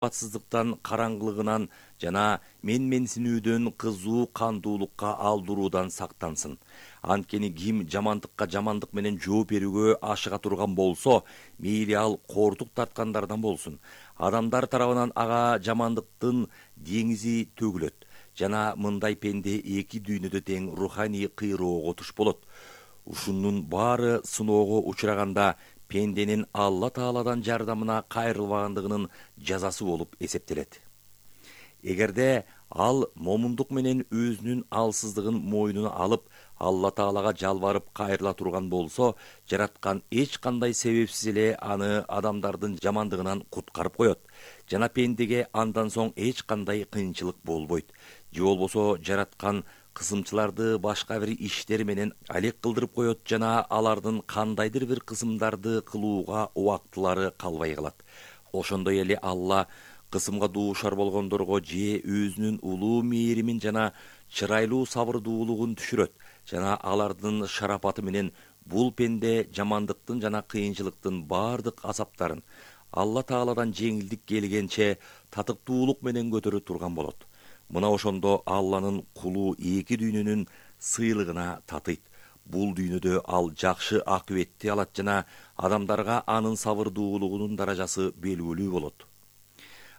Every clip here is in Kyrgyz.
батсыздыктан, караңгылыгынан жана менменсинүүдөн кызуу кандуулукка алдыруудан сактансын. Анткени ким жамандыкка жамандык менен жооп берүүгө ашыга турган болсо, мейли ал кортук тарткандардан болсун. Адамдар тарабынан ага жамандыктын деңизи төгүлөт жана мындай пенде эки дүйнөдө тең руханий кыйроого туш болот. Ушунун баары сыноого учураганда пенденин Алла Тааладан жардамына кайрылбагандыгынын жазасы болуп эсептелет. Эгерде ал момундук менен өзүнүн алсыздыгын мойнуна алып, Алла Таалага жалбарып кайрыла турган болсо, жараткан эч кандай себепсиз эле аны адамдардын жамандыгынан куткарып коет. Жана пендеге андан соң эч кандай кыйынчылык болбойт. Же болбосо жараткан кысымчыларды башка бир иштер менен алек кылдырып коет жана алардын кандайдыр бир кысымдарды кылууга убактылары калбай калат. Ошондой эле Алла кысымга дуушар болгондорго же өзүнүн улуу мээримин жана чырайлуу сабырдуулугун түшүрөт жана алардын шарапаты менен бул пенде жамандыктын жана кыйынчылыктын бардык азаптарын Алла Тааладан жеңилдик келгенче татыктуулук менен көтөрө турган болот. Мына ошондо Алланын кулу эки дүйнөнүн сыйлыгына татыйт. Бул дүйнөдө ал жакшы акыбетти алат жана адамдарга анын сабырдуулугунун даражасы белгилүү болот.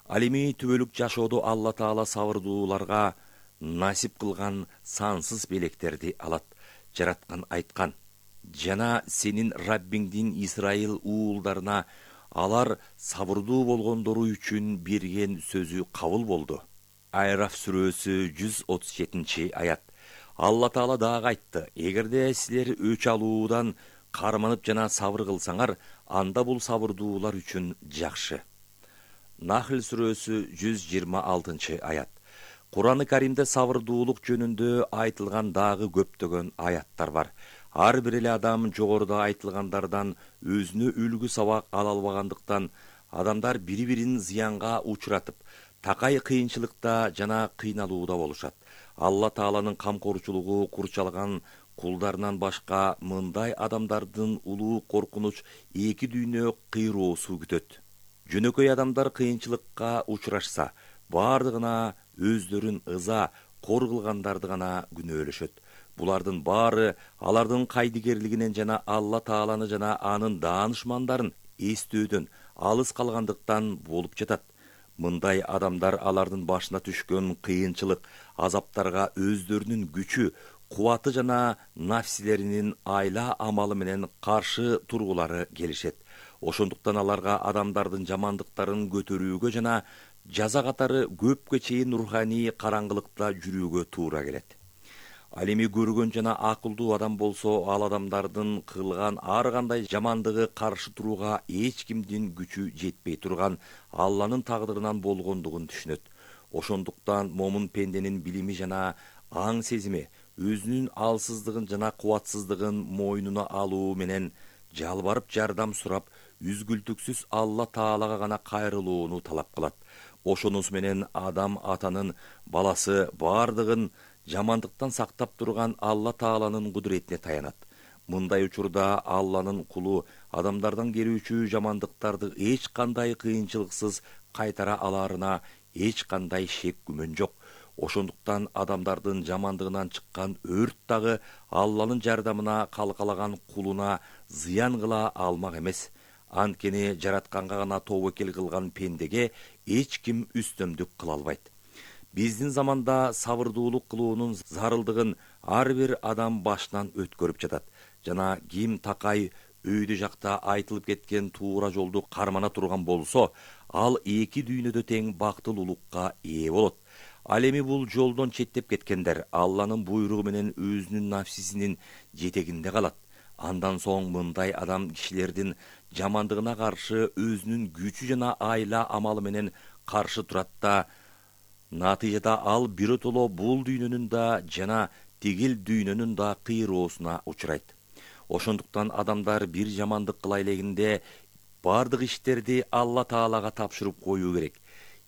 Ал эми түбөлүк жашоодо Алла Таала сабырдууларга насип кылган сансыз белектерди алат. Жараткан айткан: "Жана сенин Раббиңдин Исраил уулдарына алар сабырдуу болгондору үчүн берген сөзү кабыл болду." Айраф сүрөсү 137-аят. Алла Таала дагы айтты: "Эгерде силер өч алуудан карманып жана сабыр кылсаңар, анда бул сабырдуулар үчүн жакшы." Нахл сүрөсү 126-аят. Кур'ан-ы Каримде сабырдуулук жөнүндө айтылган дагы көптөгөн аяттар бар. Ар бир эле адам жогоруда айтылгандардан өзүнө үлгү сабак ала албагандыктан адамдар бири-бирин зыянга учуратып, такай кыйынчылыкта жана кыйналууда болушат. Алла Тааланын камкорчулугу курчалган кулдарынан башка мындай адамдардын улуу коркунуч эки дүйнө кыйроосу күтөт. Жөнөкөй адамдар кыйынчылыкка учурашса, бардыгына өздөрүн ыза, кор кылгандарды гана күнөөлөшөт. Булардын баары алардын кайдыгерлигинен жана Алла Тааланы жана анын даанышмандарын эстөөдөн алыс калгандыктан болуп жатат. Мындай адамдар алардын башына түшкөн кыйынчылык, азаптарга өздөрүнүн күчү, кубаты жана нафсилеринин айла амалы менен каршы тургулары келишет. Ошондуктан аларга адамдардын жамандыктарын көтөрүүгө жана жаза катары көпкө чейин руханий караңгылыкта жүрүүгө туура келет. Ал эми көргөн жана акылдуу адам болсо, ал адамдардын кылган ар кандай жамандыгы каршы турууга эч кимдин күчү жетпей турган Алланын тагдырынан болгондугун түшүнөт. Ошондуктан момун пенденин билими жана аң сезими өзүнүн алсыздыгын жана кубатсыздыгын мойнуна алуу менен жалбарып жардам сурап, үзгүлтүксүз Алла Таалага гана кайрылууну талап кылат. Ошонус менен адам атанын баласы бардыгын жамандыктан сактап турган Алла Тааланын кудуретине таянат. Мындай учурда Алланын кулу адамдардан келүүчү жамандыктарды эч кандай кыйынчылыксыз кайтара аларына эч кандай шек күмөн жок. Ошондуктан адамдардын жамандыгынан чыккан өрт дагы Алланын жардамына калкалаган кулуна зыян кыла алмак эмес. Анткени жаратканга гана тобокел кылган пендеге эч ким үстөмдүк кыла албайт. Биздин заманда сабырдуулук кылуунун зарылдыгын ар бир адам башынан өткөрүп жатат. Жана ким такай өйдө жакта айтылып кеткен туура жолду кармана турган болсо, ал эки дүйнөдө тең бактылуулукка ээ болот. Ал эми бул жолдон четтеп кеткендер Алланын буйругу менен өзүнүн нафсисинин жетегинде калат. Андан соң мындай адам кишилердин жамандыгына каршы өзүнүн күчү жана айла амалы менен каршы турат да, натыйжада ал биротоло бул дүйнөнүн да жана тигил дүйнөнүн да кыйроосуна учурайт. Ошондуктан адамдар бир жамандык кыла элегинде бардык иштерди Алла Таалага тапшырып коюу керек.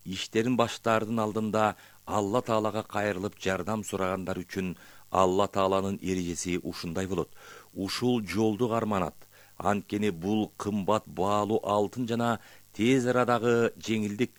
Иштерин баштаардын алдында Алла Таалага кайрылып жардам сурагандар үчүн Алла Тааланын эрежеси ушундай болот. Ушул жолду карманат. Анткени бул кымбат баалуу алтын жана тез арадагы жеңилдик